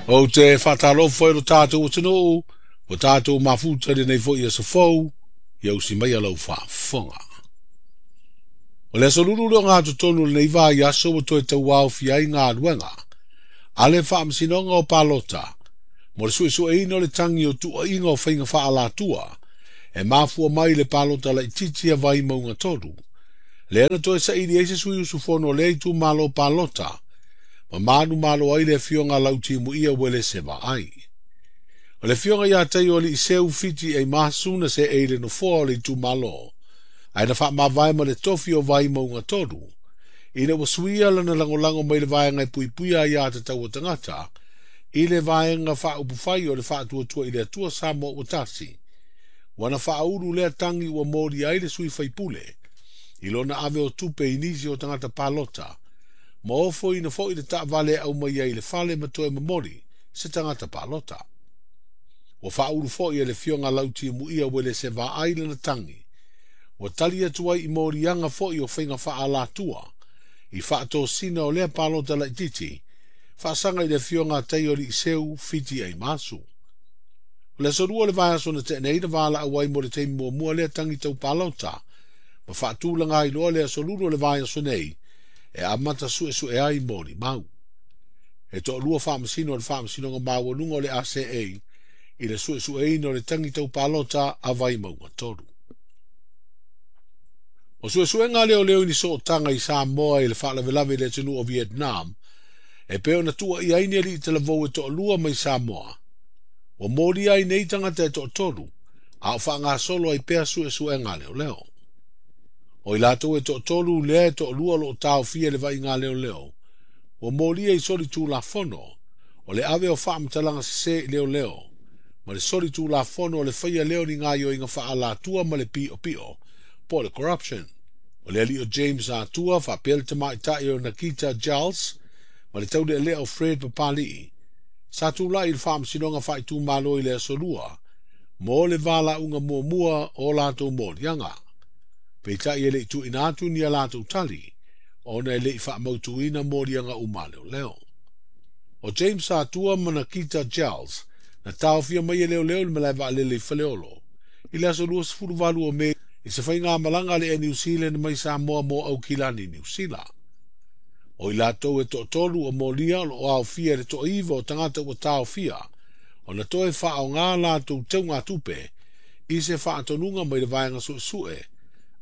Ou te faatalofa i lo tatou atunuu, ua tatou mafuta i lenei foi aso fou, ia usi maia lau faafofoga. O le aso Lulu le ogatotonu o lenei vaiaso ua toe tauaofia ai galuega a le Faamasinoga o Palota mo le suesueina o le tagi o tuuaiga o faiga faaalatua e mafua mai i le palota laitiiti a Vaimauga 3, lea na toe saili ai se sui usufono o lea itumalo palota ma manumalo ai le afioga a Lautimuia Uelese Vaai. O le afioga ia Taioaliiseu Fiti Eimasu na seei i le nofoa o le itumalo, ae na faamavae ma le tofi o Vaimauga 3, ina ua suia lana lagolago mai le vaega e puipuia aiā tatau a tagata i le vaega faaupufai o le Faatuatua i le Atua Samoa ua tasi, ua na faaulu lea tagi ua molia ai le sui faipule i lona ave o tupe i nisi o tagata palota, ma ofoina foi le taavale e aumai ai i le fale ma toe momoli se tagata palota. Ua faaulu foi e le afioga Lautimuia Uelese Vaai lana tagi, ua tali atu ai i moliaga foi o faiga faaalatua i faatosina o lea palota laitiiti faasaga i le afioga a Taioaliiseu Fiti Eimasu. O le aso 2 o le vaiaso na tea nei na valaau ai mo le taimi muamua lea tagi tau palota ma faatulaga ai loa le aso Lulu o le vaiaso nei e amata suesue ai molimau. E toalua faamasino o le Faamasinoga Maualuga o le ACA i le suesueina o le tagi tau palota a Vaimauga 3. O suesuega a leoleo i ni sootaga i Samoa i le faalavelave i le atunuu o Vietnam, e pei ona tuuaia ai ni alii talavou e toalua mai Samoa. Ua molia ai nei tagata e toatolu, a o faagasolo ai pea suesuega a leoleo. O i latou e toatolu lea e toalua o lo o taofia i le vaaiga a leoleo, ua molia i soli tulafono o le ave o faamatalaga sese i leoleo, ma le soli tulafono o le faia lea o ni gaoioiga faaalatua ma le piopio, po o le corruption. O le alii o James Atua faapea le tamaitai o Nakita Giles ma le taulealea o Fred Papali'i, sa tulai i le Faamasinoga Faaitumalo i le aso 2 mo le valaauga muamua o latou moliaga. Peitai e le i tuuina atu ni a latou tali, ona e le i faamautuina moliaga uma a leoleo. O James Atua ma Nakita Giles na taofia mai e leoleo i le malae vaalele i Faleolo i le aso 28 o Me i se faigamalaga a le Air New Zealand mai Samoa mo Aukilani, Niu Sila. O i latou e toatolu o molia o lo o aofia i le toaiva o tagata ua taofia ona toe faaaoga latou teugatupe i se faatonuga mai le vaega suesue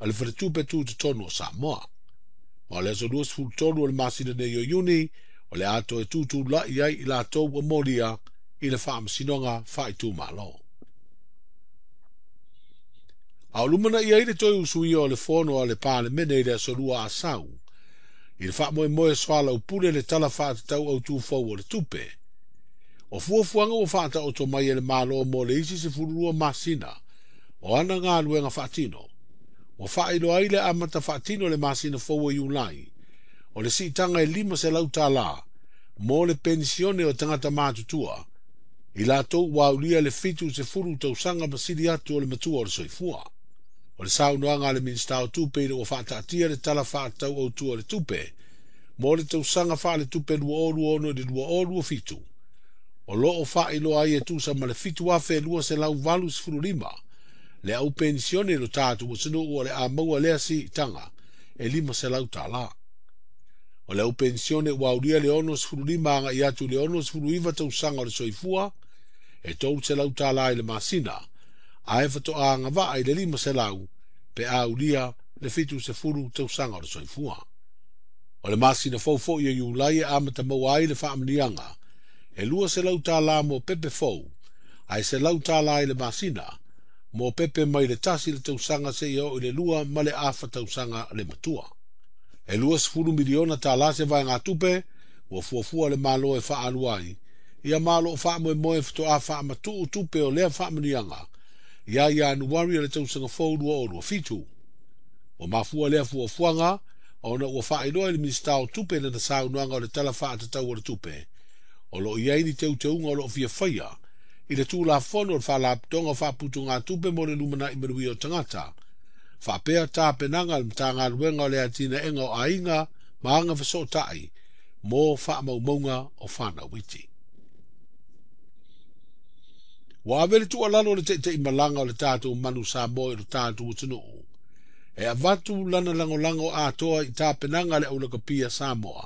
a le Faletupe Tutotonu o Samoa. Ma o le aso 23 o le masina nei o Iuni, o le a toe tutulai ai i latou ua molia i le Faamasinoga Faaitumalo. A o lumanai ai le toe usuia o le fono a le Palemene i le aso 2 Asau, i le faamoemoe soalaupule le Tala Faatatau Autu Fou o le Tupe. O fuafuaga ua faataoto mai e le Malo mo le isi 12 masina o ana galuega faatino, ua faailoa ai le amata faatino i le masina fou o Iulai o le siitaga e $500 mo le penisione o tagata matutua i latou ua aulia le 70 tausaga ma sili atu o le matua o le soifua. O le saunoaga a le Minisita o Tupe ina ua faataatia le Tala Faatatau Autu o le Tupe mo le tausaga faaletupe 2026 i le 2027, o lo o faailoa ai e tusa ma le 7,285 le au penisione i lo tatou atunuu o le a maua lea siitaga e $500. O le au penisione ua aulia le 65 agai atu i le 69 tausaga o le soifua e $300 i le masina, ae faatoa agavaa i le 500 pe a aulia le 70 tausaga o le soifua. O le masina fou foi o Iulai e amata maua ai le faamanuiaga e $200 mo pepe fou, ae $100 i le masina mo pepe mai le 1 le tausaga seia oo i le 2 ma le afa tausaga le matua. E $20 miliona tala se vaegatupe ua fuafua le Malo e faaalu ai, ia ma o lo o faamoemoe faatoa faamatuu tupe o lea faamanuiaga ia Ianuari o le tausaga fou 2027. Ua mafua lea fuafuaga ona ua faailoa e le Minisita o Tupe i lana saunoaga o le Tala Faatatau o le Tupe, o lo o i ai ni teuteuga o lo o fia faia i le Tulafono o le Faalapotopotoga o Faaputugatupe mo le Lumanai Manuia o Tagata, faapea tapenaga a le Matagaluega o le Atinaega o Aiga ma Agafesootai mo faamaumauga o fanau iti. Ua ave le tuualalo le taitaimalaga o le tatou Manu Samoa i lo tatou atunuu e avatu lana lagolago atoa i tapenaga a le aulakapi a Samoa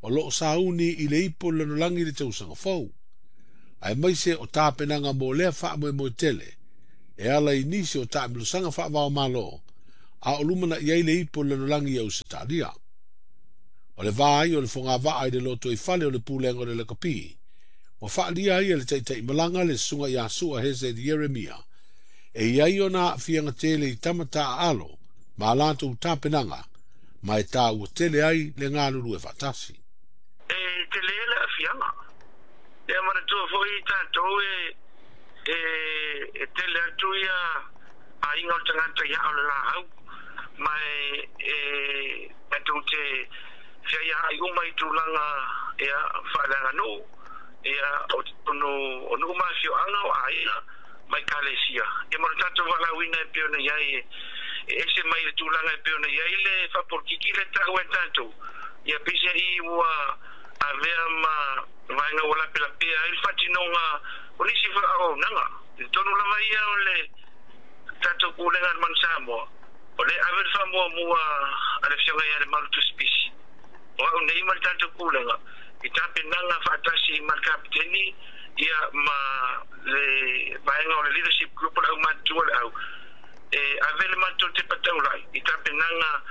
o loo sauni i le ipu o le lalolagi i le tausaga fou, aemaise o tapenaga mo lea faamoemoe tele e ala i nisi o taamilosaga faavaomalo a o lumanai ai le ipu o le lalolagi i Ausetalia. O le va ai o le fogavaa i le lotoifale o le Pulega o le Lakapi, ua faaalia ai e le taitaimalaga le susuga ia Sua Hezed Ieremia e i ai ona aafiaga tele i tama taaalo ma a latou tapenaga, ma e taua tele ai le galulue faatasi. E tele le aafiaga. Ia manatua foi tatou e e tele atu ia aiga o le tagata i aa o le laau, ma e tatou te feaiaai uma i tulaga ia faaleaganuu ia o totonu o nuu ma afioaga o aiga ma ekalesia. Ia ma le tatou valaauina e pei ona i ai e ese mai le tulaga e pei ona i ai le faapolokiki lea e taua e tatou. Ia peiseai ua avea ma vaega ua lapelapea ai le faatinoga o nisi foi auaunaga. I totonu lava ia o le tatou Pulega a le Manu Samoa, o lea e ave le faamuamua a le Afioga ia Lemalu Tusipisi, o au nei ma le tatou Pulega, i tapenaga faatasi ma le Kapeteni ia ma le vaega o le Leadership Group o le Aumatutua o le Au, e ave le matou tepa taulai i tapenaga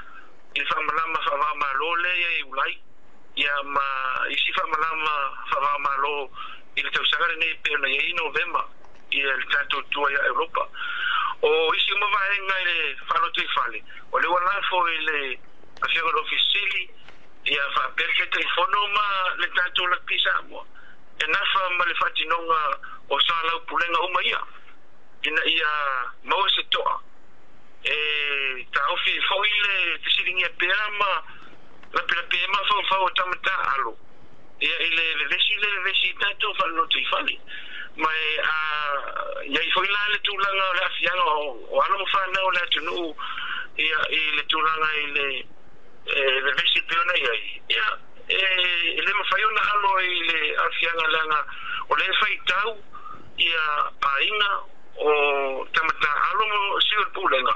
i le faamalama faava-o-Malo lea ia Iulai ia ma isi faamalama faava-o-Malo i le tausaga lenei e pei ona i ai i Novema i le tatou tua ia Europa. O isi uma vaega i le faalotoifale, o lea ua lafo i le Afioga i le Ofisa Sili ia faapea le Taitaifono ma le tatou Lakapi Samoa e nafa ma le faatinoga o soalaupulega uma ia ina ia maua se toa e taofi ai foi le fesiligia pea ma lapelapea ai mafaufau o tama taaalo ia i le vevesi le vevesi i tatou faalotoifale. Ma e a i ai foi la le tulaga o le aafiaga o alo ma fanau o le atunuu ia i le tulaga i le vevesi e pei ona i ai, ia e le mafai ona alo i le aafiaga leaga o lea e faitau ia aiga o tama taaalo ma sui o le Pulega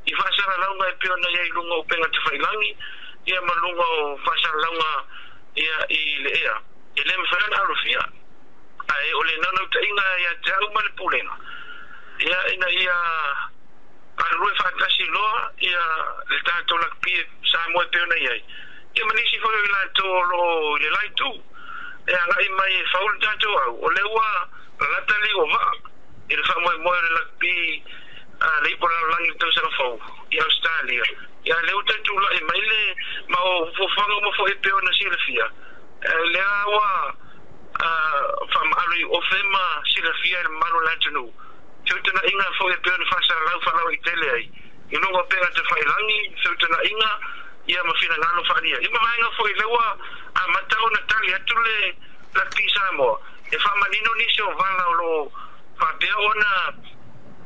i faasalalauga e pei ona i ai i luga o upega tafailagi ia ma luga o faasalalauga ia i le ea. E le mafai ona alofia, ae o le naunautaiga ia te au ma le Pulega ia ina ia galulue faatasi loa ia le tatou lakapi Samoa e pei ona i ai, ia ma nisi foi o i latou o lo o i le la itu e agai mai e fau le tatou au, o lea ua lalata liu o vaa i le faamoemoe o le lakapi a le ipu o le lalolagi i le tausaga fou i Ausetalia. Ia lea ua toe tulai mai le ma o fuafuaga uma foi e pei ona silafia, lea ua faamaalo i ofe ma silafia e le mamalu o le atunuu feutanaiga foi e pei ona faasalalau faalauaitele ai i luga o pega tafailagi, feutanaiga ia ma finagalo faaalia. Ia ma vaega foi lea ua amata ona tali atu le Lakapi Samoa e faamanino nisi o vala o lo o faapea ona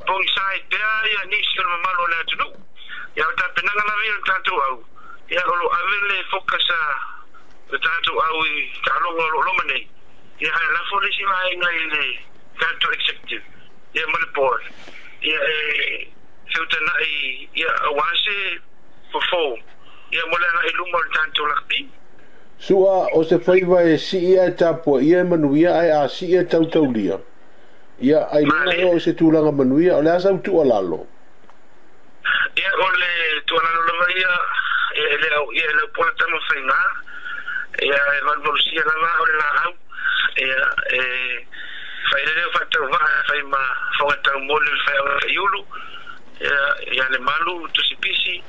pogisa ai pea ia nisi o le mamalu o le atunuu. Ia o tapenaga lava ia o le tatou au, ia o lo o ave le focus a le tatou au i taaloga o lo o loma nei, ia ae lafo le isi vaega i le tatou executive ia ma le board ia e feutanai ia aua se fofo ia mo le agai i luma o le tatou lakapi. Sua, o se faiva e sii ae tapuaia e manuia ae a sii e tautaulia, ia, ailoga ea o se tulaga manuia, o le a sau tuualalo? Ia, o le tuualalo lava ia, ia e le au, ia e le au pola tama faiga, ia e valuvalusia lava au le laau, ia e fai le leo faatauvaa e fai ma foga taumoli o le faiaoga taiulu, ia, ia le malu tusipisi,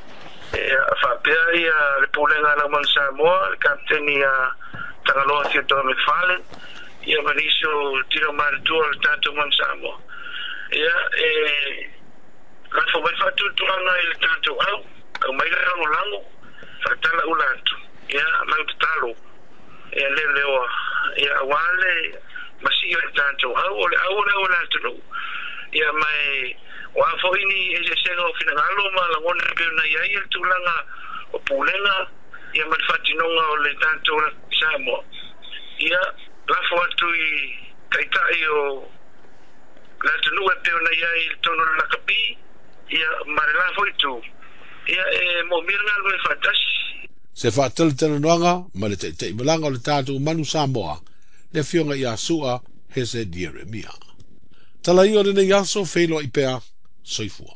ia faapea ia le Pulega a Laumanu Samoa, le Kapeteni ia Tagaloa Theodore McFarlane, ia ma nisi o tino matutua o le tatou Manu Samoa. Ia e lafo mai le faatuatuaga i le tatou au, aumai le lagolago, faatala ula atu, ia lau tatalo, ia leoleoa, ia aua le masii o le tatou au, o le au o le au o le atunuu. Ia ma e o a foi ni eseesega o finagalo ma lagona e pei ona i ai le tulaga o pulega ia ma le faatinoga o le tatou Samoa, ia lafo atu i taitai o Le atunuu e pei ona i ai i totonu o le lakapi, ia, ma le la foi itu, ia, e moomia le galulue faatasi. Se faatalatalanoaga ma le taitaimalaga o le tatou Manu Samoa, le Afioga ia Su'a Hese Ieremia. Tala ia o lenei aso, feiloai pea, soifua.